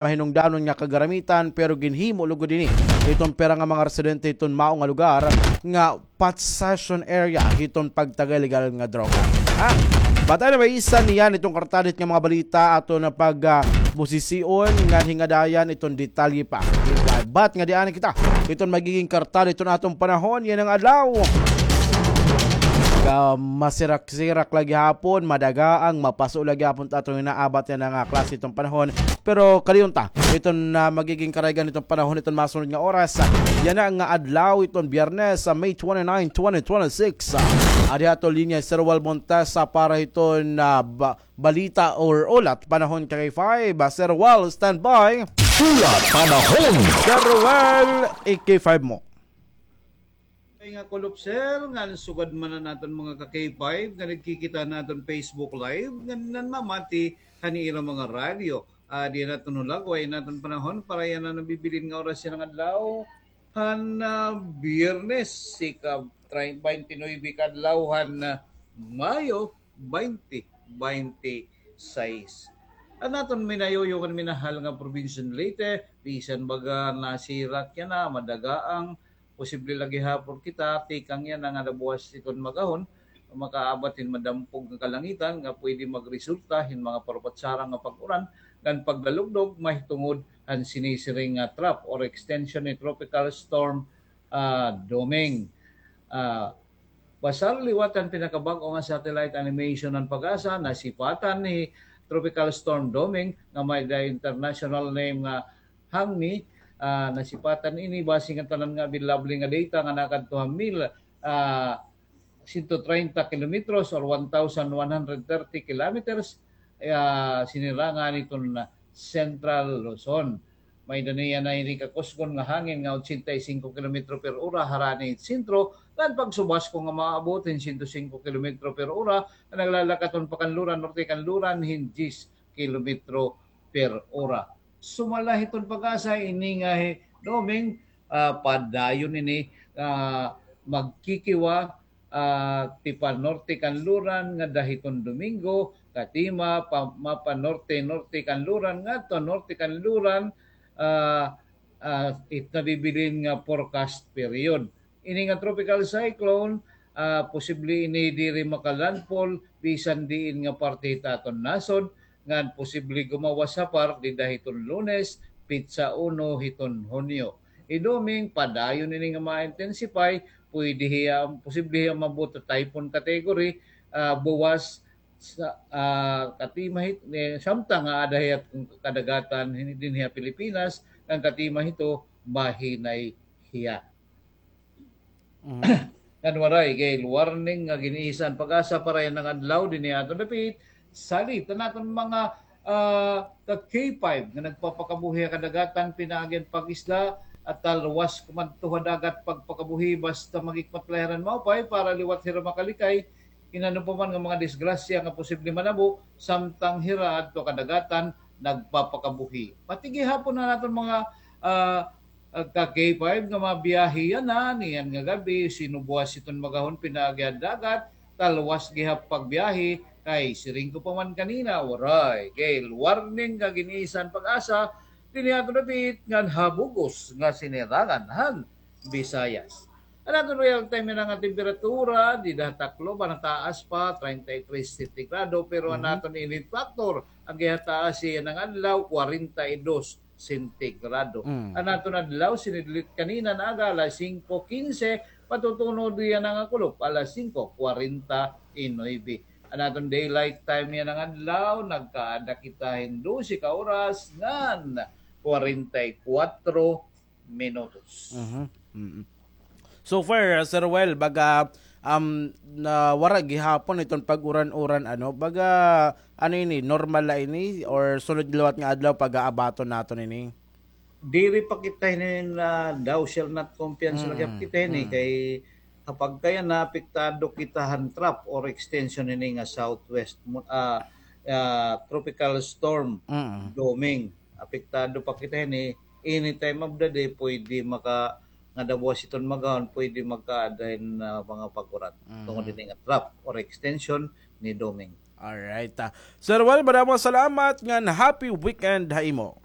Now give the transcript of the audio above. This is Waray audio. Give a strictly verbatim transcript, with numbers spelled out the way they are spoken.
mahinungdanon nga kagaramitan, pero ginhimo lugod ini hiton pira nga mga residente hiton mao nga lugar nga possession area hiton pagtagay legal nga droga. Ha? But anyway, isa niyan iton kartadit nga mga balita aton pag, ah, busision nga hingadayan iton detalye pa. But nga di ani kita iton magiging kartadit iton aton panahon yana nga adlaw. Ka masirak-sirak la gihapon, madaga ang mapaso la gihapon ta aton inaabat yana nga klase iton panahon. Pero kadayon ta iton, ah, magiging karaygan iton panahon iton masunod nga oras. Yana nga adlaw iton Biyernes, sa May twenty-nine, twenty twenty-six. Ah, adi aton linya Sir Wal Montesa para hiton, ah, ba-, balita or ulat panahon K five. Ah, Sir Wal, standby. Ulat panahon. Sir Wal, i-K five mo. Ay nga kulop, sir, ngan sugad man an aton mga ka-K five nga nagkikita han aton Facebook Live, ngan nanmamati han ira mga radyo. Ah, di naton hulagway an aton panahon para yana nabibilin nga oras yana nga adlaw han, ah, Biyernes, ika-, try-, twenty-nine ka adlaw han, ah, Mayo, twenty twenty-six. An aton minayuyo ngan minahal nga probinsya han Leyte, bisan baga nasirak yana, madaga ang posible la gihapon kita, tikang yana nga nabuwas hiton magahon, makaabat hin madampog nga kalangitan nga pwede magresulta hin mga parupatsara nga pag-uran ngan paglalugdog mahitungod han sinisiring nga trough or extension ni Tropical Storm, ah, Doming. Ah, Basar liwat han pinakabag-o nga satellite animation han PAGASA, nasipatan hi Tropical Storm Doming nga may the international name nga Hangmi. Ah, nasipatan ini base nga tanan nga available nga data nga nakadto ha mil, ah, sento treinta kilometros or one thousand one hundred thirty kilometers, ah, sinirangan hiton Central Luzon. May-ada niya ini kakusgon nga hangin nga ochenta y cinco kilometro per ora harani it sentro, ngan pagsubasko nga maabot hin sento singko kilometro per ora, nga naglalakat hiton pakanluran, norte kanluran, hin diyes kilometro per ora. Sumala hiton PAGASA, ini nga hi Doming, ah, padayon ini, ah, magkikiwa, ah, tipanorte kanluran ngada hiton Domingo, katima pa-, mapanorte-norte kanluran ngadto norte kanluran, ah, ah, it nabibilin nga forecast period. Ini nga tropical cyclone, ah, posible ini diri makalandfall bisan diin nga parte hit aton nasod, ngan posible gumawas ha PAR dida hiton Lunes, petsa uno hiton Hunyo. Hi Doming, padayon ini nga ma-intensify, pwede hiya, posible hiya maabot ha typhoon category, ah, buwas sa, ah, katima hit-, eh, samtang nga aada hiya kadagatan hin-, dinhi ha Pilipinas, ngan katima hito, mahinay hiya. Mhm. Ngan waray gale warning nga gin-isa han PAGASA para yana nga adlaw dinhi ha aton dapit. Salit an aton mga, ah, ka K five nga nagpapakabuhi ha kadagatan pinaagi han pag-isda, at talwas kumadto ha dagat pagpakabuhi basta maghikmat la hira hin maupay para liwat hira makalikay hin ano pa man nga mga disgrasya nga posible manabo samtang hira adto ha kadagatan nagpapakabuhi. Pati gihapon an aton mga, ah, ah, ka K five nga mabiyahe yana, niyan nga gab-i, sino buwas hiton magahon pinaagi ha dagat, talwas gihap pagbiyahe, kay siring ko pa man kanina, waray gale warning nga gin-isa han PAGASA dinhi ha aton dapit ngan ha bug-os nga sinirangan han Visayas. An aton real time yana nga temperatura dida ha Tacloban, nataas pa, treinta y tres sentigrado, pero an aton init factor, an gihataas yana nga adlaw, kwarenta y dos sentigrado. Mm. An aton adlaw, sinidlit kanina nga aga, alas singko kinse, patutunod yana nga kulop, alas singko kwarenta y nuebe. An aton daylight time yana nga adlaw, nagkaada kita hin dose ka oras ngan kwarenta y kuwatro minutos. Mhm. Mm. So far, ah, Sir Well, baga, um, na wara gihapon iton pag-uran-uran, ano, baga, ano ini, normal la ini, or sunod liwat nga adlaw, pag-aabaton naton ini? Diri pa kita hini na thou shall not kumpiyansa la gihap kita hini, kay kapag kaya naapektado kita han trough or extension hini nga southwest mo-, ah, ah, tropical storm, Doming. Apektado pa kita hini, any time of the day, pwede maka-, nga daw buwas iton magahon, pwede magkaada hin, ah, mga pag-uran. Tungod hini nga trough or extension ni Doming. Alright, ah. Sir Well, madamo salamat ngan happy weekend ha imo.